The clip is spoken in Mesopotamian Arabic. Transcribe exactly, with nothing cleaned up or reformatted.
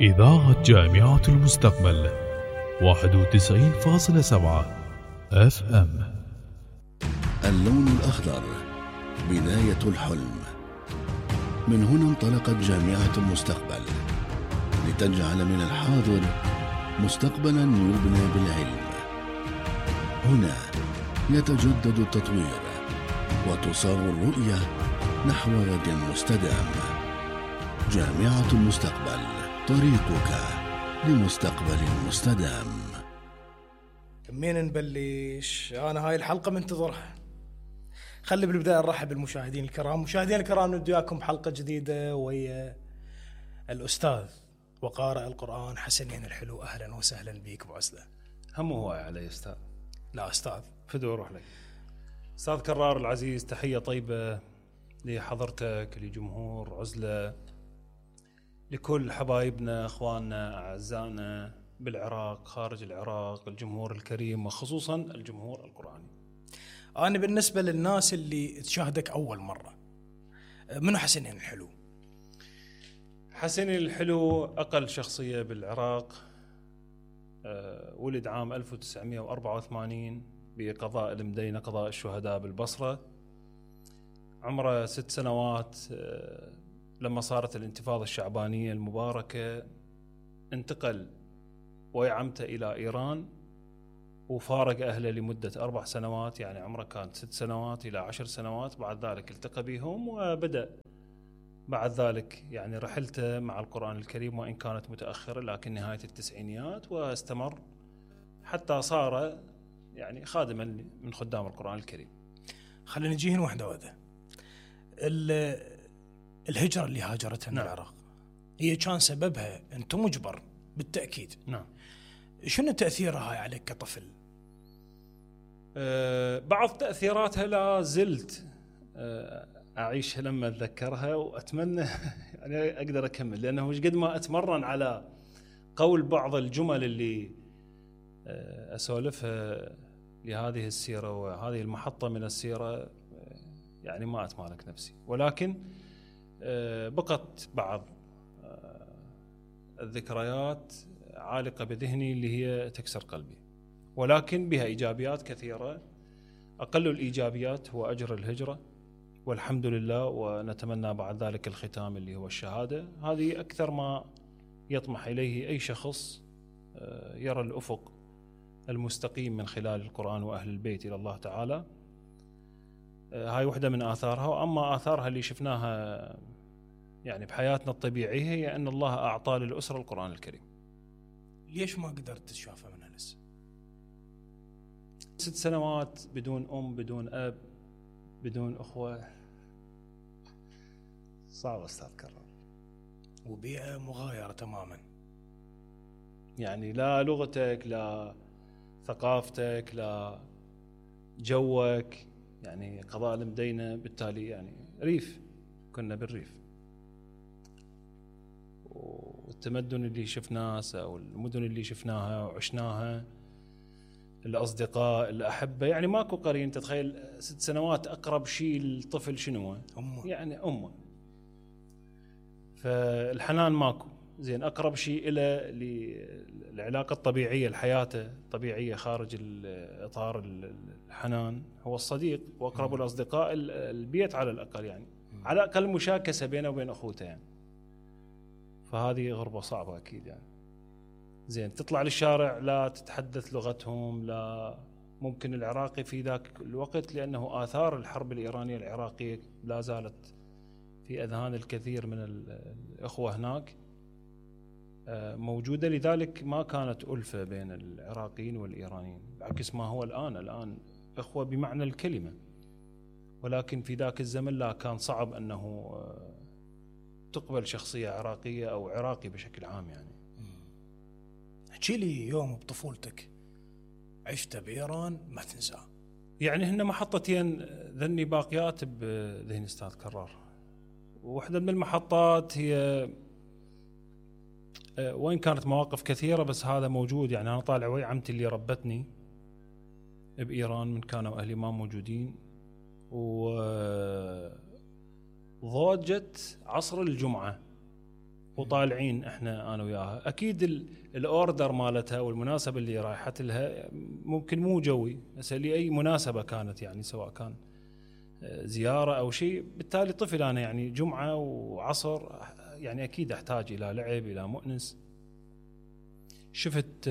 إذاعة جامعة المستقبل واحد وتسعين فاصلة سبعة اف ام. اللون الأخضر بداية الحلم. من هنا انطلقت جامعة المستقبل لتجعل من الحاضر مستقبلا يبنى بالعلم. هنا يتجدد التطوير وتصاغ الرؤية نحو غد مستدام. جامعة المستقبل، طريقك لمستقبل مستدام. منين نبلش؟ أنا هاي الحلقة منتظرها. خلي بالبداية نرحب بالمشاهدين الكرام. مشاهدين الكرام، ندي وياكم حلقة جديدة ويا الأستاذ وقارئ القرآن حسنين الحلو. أهلا وسهلا بيك أبو عزلة. هم هو علي أستاذ؟ لا أستاذ، فدو روح لك. أستاذ كرار العزيز، تحية طيبة لحضرتك، لجمهور عزلة، لكل حبايبنا أخواننا أعزائنا بالعراق، خارج العراق، الجمهور الكريم وخصوصا الجمهور القرآني. أنا بالنسبة للناس اللي تشاهدك أول مرة، منو حسنين الحلو؟ حسنين الحلو أقل شخصية بالعراق، أه ولد عام ألف وتسعمائة وأربعة وثمانين بقضاء المدينة، قضاء الشهداء بالبصرة. عمره ست سنوات أه لما صارت الانتفاضة الشعبانية المباركة انتقل ويعمته إلى إيران وفارق أهله لمدة أربع سنوات، يعني عمره كان ست سنوات إلى عشر سنوات. بعد ذلك التقى بهم وبدأ بعد ذلك يعني رحلته مع القرآن الكريم، وإن كانت متأخرة لكن نهاية التسعينيات، واستمر حتى صار يعني خادما من خدام القرآن الكريم. خلينا نجيهن واحدة واحدة. الهجرة اللي هاجرتها من نعم. العراق هي كان سببها أنت مجبر بالتأكيد. نعم. شنو تأثيرها هاي عليك كطفل؟ أه بعض تأثيراتها لا زلت أه أعيشها لما أتذكرها، وأتمنى يعني أقدر أكمل، لأنه مش قد ما أتمرن على قول بعض الجمل اللي أه أسولفها لهذه السيرة وهذه المحطة من السيرة، يعني ما أتمالك نفسي. ولكن أه بقت بعض أه الذكريات عالقة بذهني اللي هي تكسر قلبي، ولكن بها إيجابيات كثيرة. أقل الإيجابيات هو أجر الهجرة والحمد لله، ونتمنى بعد ذلك الختام اللي هو الشهادة. هذه أكثر ما يطمح إليه أي شخص يرى الأفق المستقيم من خلال القرآن وأهل البيت إلى الله تعالى. هاي واحدة من آثارها. وأما آثارها اللي شفناها يعني بحياتنا الطبيعية هي أن الله أعطى للأسرة القرآن الكريم. ليش ما قدرت تشافها منها لسه؟ ست سنوات بدون أم، بدون أب، بدون أخوة، صعب أستاذ كرار. وبيئة مغايرة تماما، يعني لا لغتك، لا ثقافتك، لا جوك، يعني قضاء المدينة بالتالي يعني ريف، كنا بالريف. والتمدن اللي شفناه أو المدن اللي شفناها وعشناها، الأصدقاء، الأحبة، يعني ماكو قرين. تتخيل ست سنوات أقرب شيء للطفل شنو؟ أمه. يعني أمه. فالحنان ماكو. زين، أقرب شيء إلى العلاقة الطبيعية، الحياة الطبيعية خارج الإطار الحنان هو الصديق، وأقرب الأصدقاء البيت على الأقل، يعني على الأقل مشاكسة بينه وبين أخوته يعني. فهذه غربة صعبة أكيد يعني. زين، تطلع للشارع لا تتحدث لغتهم، لا ممكن العراقي في ذاك الوقت، لأنه آثار الحرب الإيرانية العراقية لا زالت في أذهان الكثير من الأخوة هناك موجودة. لذلك ما كانت ألفة بين العراقيين والإيرانيين، بعكس ما هو الآن. الآن أخوة بمعنى الكلمة، ولكن في ذاك الزمن لا، كان صعب أنه تقبل شخصية عراقية أو عراقي بشكل عام يعني. احكي لي يوم بطفولتك عشت بإيران ما تنساه. يعني هن محطتين ذني باقيات بذهن أستاذ كرار. واحدة من المحطات هي، وين كانت مواقف كثيرة بس هذا موجود، يعني أنا طالع ويا عمتي اللي ربتني بإيران من كانوا أهلي ما موجودين، وضوجت عصر الجمعة وطالعين احنا انا وياها. اكيد الاوردر مالتها والمناسبه اللي رايحت لها ممكن مو جوي، بس لاي مناسبه كانت يعني سواء كان زياره او شيء. بالتالي طفل انا يعني جمعه وعصر يعني اكيد احتاج الى لعب الى مؤنس. شفت